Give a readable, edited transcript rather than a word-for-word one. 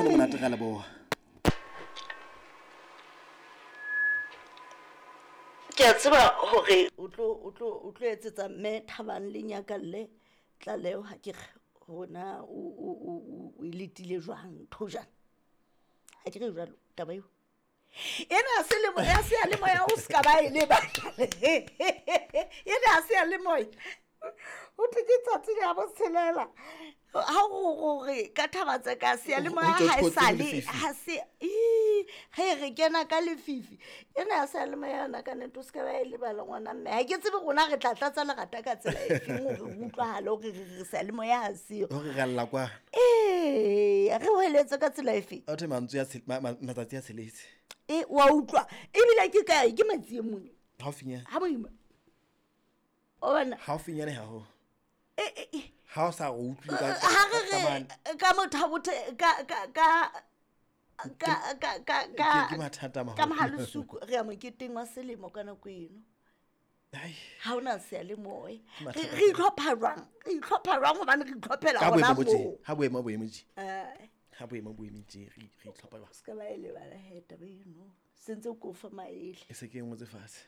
Nkgono monate ga leboga. Ke a tseba gore o tlo o tlo o tlo etsetsa mme Thabang le Nyakalle tlaleho ha ke re gona o o o o e letile jwang ntho jana. Ha ke re jwalo taba eo. Ena ha se le ya seyalemoya o ska ba e lebala. Ena ha seyalemoya. Ho thwe ke tsatsi la botshelela. Ha o gore ka thaba tsa ka seyalemoya Ho ha e thotse sale lefifi. ha se ii, ge re kena ka lefifi. Ena ya seyalemoya yona ka nnete o ska ba e lebala ngwana mme. Ha ke tsebe rona re tla tlatsa lerata ka tsela e feng hore re utlwahale hore re re seyalemoya ha seyo. Hore re alla kwa. Ee, re hweletse ka tsela e feng? A thwe mantswe a matsatsi a tsheletse. E, wa utlwa. Ebile ke kae? Ke Matsieng mona. Haufinyane. Ha boima. O bona? Haufinyane haholo. E, e, e. Ha o sa re utlwe ka Ha re ka re mane. ka motho bothe ka ka ka ka ka ka ka Ke mathata a maholo. Ka mohalosuku re ya moketeng wa selemo ka nako eno. Ai. Ha hona seyalemoya. Ke mathata. Re itlhopha jwang? Re itlhopha jwang hobane re itlhophela Ka hona boemo bo tje. moo. Ha boemo bo eme tje. Eh. Ha boemo bo eme tje re re itlhopha jwang? Se ka ba e lebala he taba eno. Sentse ko fa maele. E se ke e ngotse fatshe.